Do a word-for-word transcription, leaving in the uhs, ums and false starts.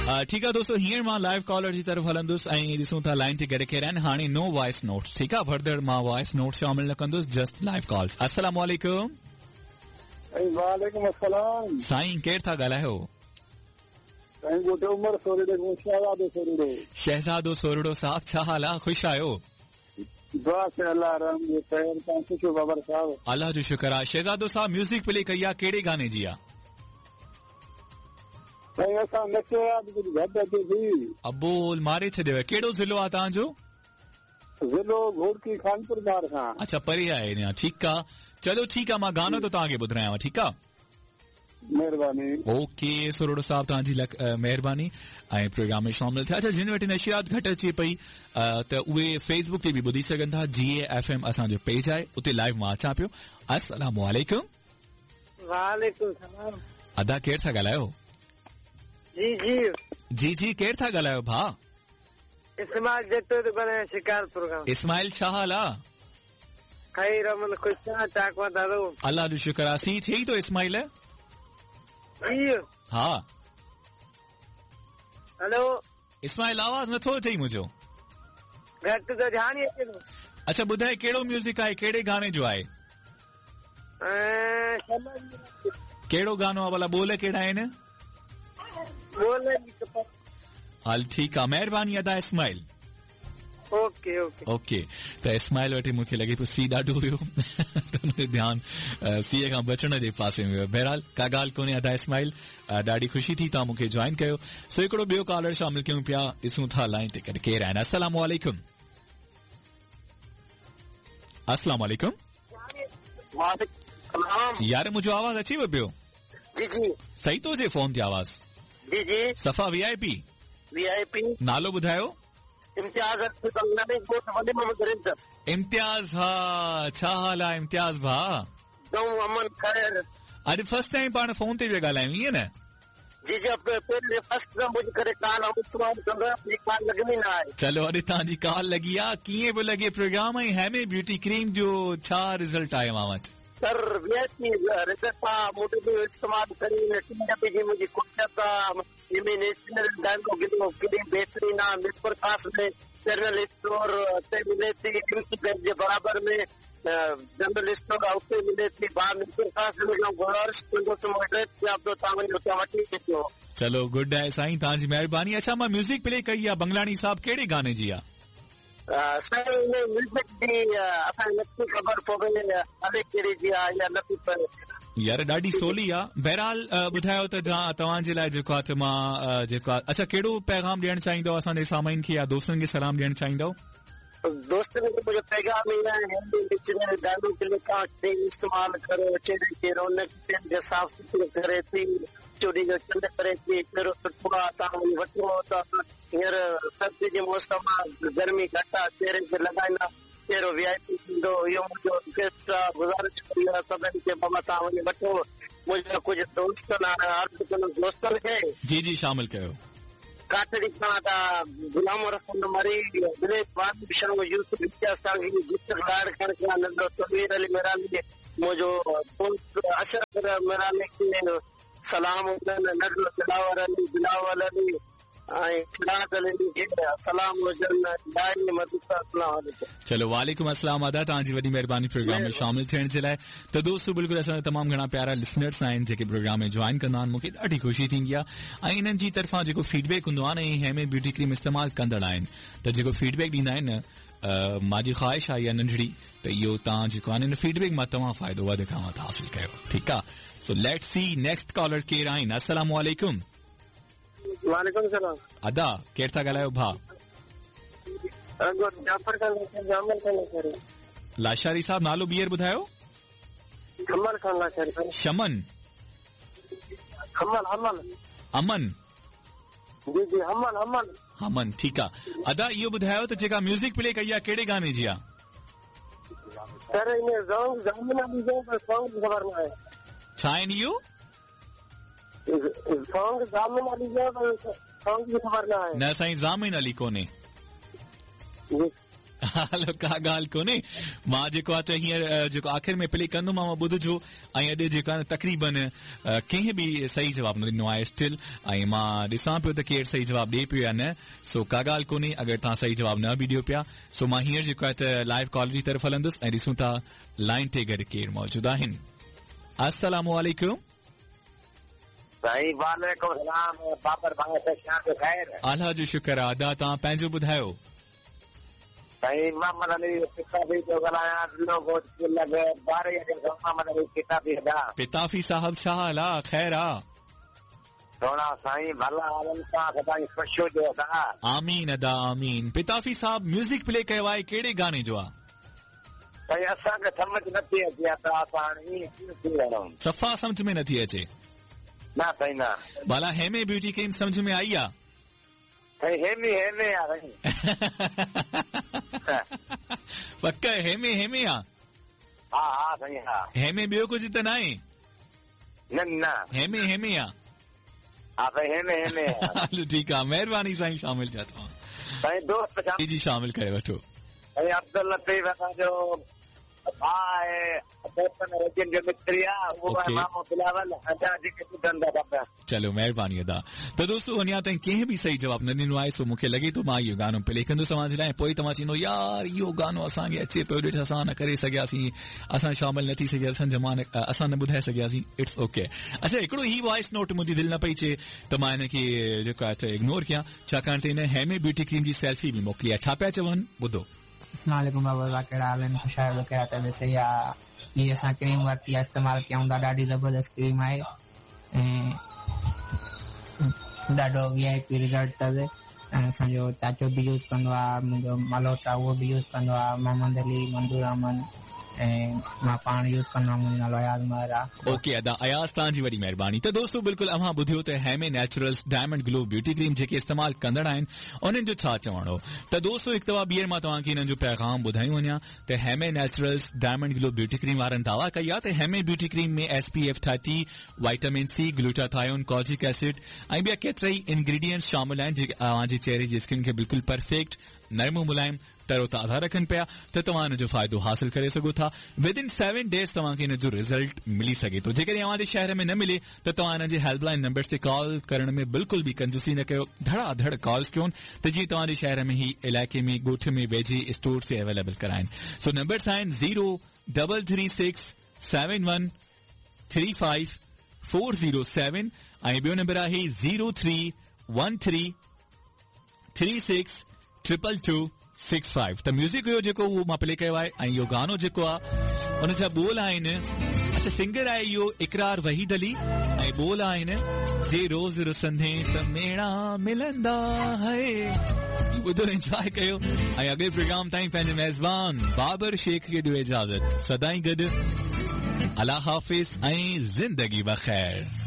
ठीकु आहे दोस्तो, हींअर मां लाइव कॉलर जी तरफ़ हलंदुसि ऐं ॾिसूं था लाइन ते गॾु केरु आहिनि। हाणे नो वॉइस नोट्स, ठीकु आहे, फर्दर मां वॉइस नोट शामिल न कंदुसि, जस्ट लाइव कॉल्स। अस्सलाम वालेकुम। वालेकुम अस्सलाम। साईं केरु था ॻाल्हायो? साईं ॻोठ उमर सोरड़े, शहज़ादो सोरड़ो। शहज़ादो सोरड़ो साहब, छा हाल आहे? ख़ुशि आहियो? बसि अलाह रहम जो ख़ैर, तव्हां ख़ुशि बाबर साहब? अलाह जो शुक्र आहे। शहज़ादो साहब, म्यूज़िक प्ले कई आहे, कहिड़े गाने जी आहे? साईं असां न चयो आहे, कुझु घटि अचे थी। अबोल मारे छॾियो। कहिड़ो ज़िलो आहे तव्हांजो? ज़िलो घोटकी, खानपुर बार खां। अच्छा, परे आहे अञा, ठीकु आहे। चलो ठीकु आहे, मां गानो थो तव्हांखे ॿुधायां, ठीकु आहे? महिरबानी। ओके सोरड़ो साहब, तव्हांजी महिरबानी ऐं प्रोग्राम में शामिल थिया। अच्छा, जिन वटि नशियात घटि अचे पई त उहे फेसबुक ते बि ॿुधी सघनि था, जी ए एफ एम असांजो पेज आहे, उते लाइव मां अचां पियो। अस्सलाम वालेकुम। वालेकुम सलाम। अदा केरु था ॻाल्हायो? जी जी जी जी, केरु था ॻाल्हायो भाउ? इस्माइल जटो थो ॻाल्हायां, शिकारपुर खां। इस्माइल, छा हाल आहे? ख़ैर अमन, ख़ुशि आहियां, चाक मां दादो। अलाह जो शुक्र आहे। सी थिए थो इस्माइल? जी हा। हेलो इस्माइल, आवाज़ नथो अचे मुंहिंजो। घटि त ध्यानु ई अचे थो। अच्छा ॿुधाए, कहिड़ो म्यूज़िक आहे, कहिड़े गाने जो आहे? कहिड़ो गानो आहे भला, ॿोल कहिड़ा आहिनि? हल ठीकु आहे, महिरबानी अदा इस्माइल। Okay okay okay. त इस्माइल वटि मूंखे लॻे पियो सी ॾाढो हुयो, त हुनजो ध्यानु सीअ खां बचण जे पासे में वियो। बहरहाल का ॻाल्हि कोन्हे अदा इस्माइल, ॾाढी ख़ुशी थी तव्हां मूंखे जॉइन कयो। सो हिकिड़ो ॿियो कॉलर शामिल कयूं पिया, ॾिसूं था लाइन ते कॾहिं केरु आहिनि। अस्सलाम वालेकुम। अस्सलाम वालेकुम। यार मुंहिंजो आवाज़ अचे पियो? जी जी। सही थो अचे फोन ते आवाज़? जी जी। सफ़ा V I P? V I P. नालो ॿुधायो? इम्तियाज़। इम्तियाज़, हा, छा हाल आहे इम्तियाज़ भाउ? अमन ख़ैर। अॼु फर्स्ट टाइम पाण फोन ते पिया ॻाल्हायूं, ईअं न? जी जी, फर्स्ट करे कॉल कॉल लॻंदी न आहे। चलो अॼु तव्हांजी कॉल लॻी आहे। कीअं पियो लॻे प्रोग्राम ऐं हेमे ब्यूटी क्रीम जो छा रिज़ल्ट आहे मां वटि? सर वी रिज़ल्ट आहे, मूंखे इस्तेमालु करी टी डब्बे जी मुंहिंजी कोशिश आहे। नेशनल क्रीम बहितरीन आहे, मीरपुर ख़ास में जनरल स्टोर ते मिले थी, एम जे बराबर में जनरल स्टोर आहे उते मिले थी। मीरपुर ख़ास गुज़ारिश कंदुसि, तव्हां वञो उतां वठी अचिजो। चलो गुड आहे साईं, तव्हांजी महिरबानी। अच्छा मां म्यूज़िक प्ले कई आहे बंगलाणी साहब, कहिड़े गाने जी आहे? साईं म्यूज़िक जी असांखे नथी ख़बर पवे अलाए कहिड़ी जी आहे या नथी पवे। यार ॾाढी सोली आहे। बहरहाल ॿुधायो त तव्हांजे लाइ जेको आहे त मां जेको आहे, अच्छा कहिड़ो पैगाम ॾियणु चाहींदव असांजे सामाइन खे या दोस्तनि खे सलाम ॾियणु चाहींदव? दोस्तनि खे मुंहिंजो पैगाम इहो आहे, ॾाढो तव्हां इस्तेमालु करो, चेहरे खे रौनक चेहरे साफ़ सुथरो करे थी, चोॾी जो चंड करे थी, चेहरो सुठो आहे, तव्हां वञी वठो। त हींअर सर्दी जे मौसम आहे, गर्मी घटि आहे, चेहरे खे लॻाईंदा चेहरो वी I P थींदो। इहो मुंहिंजो रिक्वेस्ट आहे, गुज़ारिश कई आहे सभिनी खे, बाबा तव्हां वञी वठो। मुंहिंजा कुझु दोस्त आहिनि, दोस्तनि खे जी जी शामिल कयो। काटड़ी खां त गुलाम रसूल मरी, दिनेश बादशाह, यूसुफ सांगी, लाड़ खां नंढो तनवीर अली मेरानी, मुंहिंजो दोस्त अशरफ मेरानी खे सलाम हुजनि, नंढो दिलावर अली, बिलावल अली ऐं सलाम हुजनि। चलो वालेकुम अस्सलाम अदा, तव्हांजी वॾी महिरबानी प्रोग्राम में शामिल थियण जे लाइ। त दोस्तो बिल्कुलु असांजा तमामु घणा प्यारा लिसनर्स आहिनि जेके प्रोग्राम में जॉइन कंदा आहिनि, मूंखे ॾाढी ख़ुशी थींदी आहे ऐं इन्हनि जी तरफ़ां जेको फीडबैक हूंदो आहे न, ऐं हेमे ब्यूटी क्रीम इस्तेमालु कंदड़ आहिनि त जेको फीडबैक ॾींदा आहिनि न, मुंहिंजी ख़्वाहिश आहे इहा नंढड़ी त इहो तव्हां जेको आहे न इन फीडबैक मां तव्हां फ़ाइदो वधि खां वधि हासिल कयो, ठीकु आहे। सो let's see next collar केरु आहिनि। अस्सलाम वालेकुम। वालेकुम सलाम। अदा केरु था ॻाल्हायो भाउ? लाशारी साहब, नालो ॿीहर ॿुधायो? अमन खान लाशारी। शमन? अमन अमन अमन जी जी, अमन अमन अमन, ठीकु आहे। अदा इहो ॿुधायो त जेका म्यूज़िक प्ले कई आहे कहिड़े गाने जी आहे? सर इन सॉन्ग अली जो पर सॉन्ग ख़बर न आहे। छा आहिनि इहो? सॉन्ग जामिन अली जो पर सॉन्ग जी ख़बर न आहे। न साईं, जामिन अली कोन्हे। हलो का ॻाल्हि कोन्हे, मां जेको आहे त हींअर जेको आख़िर में प्ले कंदुमांव ॿुधजो। ऐं अॼु जेको आहे तक़रीबन कंहिं बि सही जवाबु न ॾिनो आहे स्टिल, ऐं मां ॾिसां पियो त केरु सही जवाबु ॾिए पियो या न। सो का ॻाल्हि कोन्हे अगरि तव्हां सही जवाबु न बि ॾियो पिया। सो मां हींअर जेको आहे त लाइव कॉल जी तरफ़ हलंदुसि ऐं ॾिसूं था लाइन ते गॾु केरु मौजूदु आहिनि। अस्सलामु अलैकुम। साईं वालेकुम सलाम। बाबर भाई सां ख़ैर? अल्लाह जो शुक्र आहे। अदा तव्हां पंहिंजो ॿुधायो। साईं मोहम्मद अली पिताफी थो ॻाल्हायां, मोहम्मद अली पिताफी। पिताफी साहब छा हाल आहे? ख़ैर आहे? थोड़ा साईं भला हालनि सां, सदाईं ख़ुशि हुजो अदा। आमीन अदा आमीन। पिताफी साहब म्यूज़िक प्ले कयो आहे, कहिड़े गाणे जो आहे? साईं असांखे सम्झ नथी अचे, असां हाणे ईअं कीअं थी वञूं? सफ़ा सम्झ में नथी अचे? न साईं न। भला हेमे ब्यूटी क्रीम सम्झ में आई आहे? साईं हेमी हेमे आहे साईं। पक हेमे हेमे आहे? हा हा साईं हा। हेमे ॿियो कुझु त न आहे? न न हेमे हेमे आहे। हा साईं हेमे हेमे। हलो ठीकु आहे, महिरबानी साईं शामिल थिया तव्हां। साईं दोस्त जी जी शामिल करे वठो। साईं अब्दुल लतीफ़ असांजो भाउ आहे, जो मिस्त्री आहे, उहो मामो बिलावल जेके ॿुधंदा सभु। चलो महिरबानी अदा। त दोस्तो अञा ताईं कंहिं बि सही जवाबु न ॾिनो आहे, सो मूंखे लॻे थो मां इहो गानो प्ले कंदुसि तव्हां जे लाइ, पोइ तव्हां चवंदो यार इहो गानो असांखे अचे पियो, ॾिठ असां न करे सघियासीं, असां शामिल न थी सघिया, असां जमा न असां न ॿुधाए सघियासीं। It's okay. अच्छा हिकिड़ो ही वॉइस नोट मुंहिंजी दिलि न पई चए त मां हिनखे जेको आहे त इग्नोर कयां, छाकाणि त हिन हेमे ब्यूटी क्रीम जी सेल्फी बि मोकिली आहे। छा पिया चवनि ॿुधो। अस्सलाम वालेकुम बाबा, कहिड़ा हाल आहिनि? ख़ुशि आहियो? कहिड़ा तबियत सही आहे? हीअ असां क्रीम वरिती आहे, इस्तेमालु कयूं था, ॾाढी ज़बरदस्त क्रीम आहे ऐं ॾाढो वी I P result अथसि। ऐं असांजो चाचो बि यूज़ कंदो आहे, मुंहिंजो मलोट आहे उहो बि यूज़ कंदो आहे, मोहम्मद अली, मंज़ूर अहमद ऐं मां पाण यूज़ कंदो आहियाँ। मुंहिंजो नालो अयाज़ महर आहे। ओके अदा अयाज़, तव्हांजी वॾी महिरबानी। त दोस्तो बिल्कुलु अव्हां ॿुधियो त Heme naturals diamond glow beauty cream जेके इस्तेमालु कंदड़ आहिनि उन्हनि जो छा चवणु हो। त दोस्तो हिकु दफ़ा ॿीहर मां तव्हांखे हिननि जो पैगाम ॿुधायूं वञा त Heme naturals diamond glow beauty cream वारनि दावा कई आहे त Heme beauty cream में S P F thirty, vitamin C, glutathione, kojic acid ऐं ॿिया केतिरा ई इंग्रीडियंट्स शामिल आहिनि जेके तव्हांजे चेहरे जी स्किन खे बिल्कुलु परफेक्ट, नरम मुलाइम, तरोताज़ा रखनि पिया। त तव्हां हिन जो फ़ाइदो हासिल करे सघो था। विद इन सेवन डेज़ तव्हांखे हिन जो रिज़ल्ट मिली सघे थो। जेकॾहिं तव्हांजे शहर में न मिले त तव्हां हिन जे हेल्पलाइन नंबर ते कॉल करण में बिल्कुलु बि कंजूसी न कयो, धड़ाधड़ कॉल्स कयो त जीअं तव्हांजे शहर में ही इलाइक़े में ॻोठ में वेझे स्टोर ते अवेलेबल कराइनि। सो नंबर्स आहिनि zero double three six seven one three five four zero seven ऐं ॿियो नंबर आहे zero three one three three six triple two six five. त म्यूज़िक हुयो जेको उहो मां प्ले कयो आहे ऐं इहो गानो जेको आहे उन जा ॿोल आहिनि। अच्छा सिंगर आहे इहो इकरार वहीद अली ऐं ॿोल आहिनि जे रोज़ रुसंदे त मेणा मिलंदा है। ॿुधो, एंजॉय कयो ऐं अॻिले प्रोग्राम ताईं पंहिंजे मेज़बान बाबर शेख खे ॾियो इजाज़त। सदाईं गॾु, अल्लाह हाफ़िज़ ऐं ज़िंदगी बख़ैर।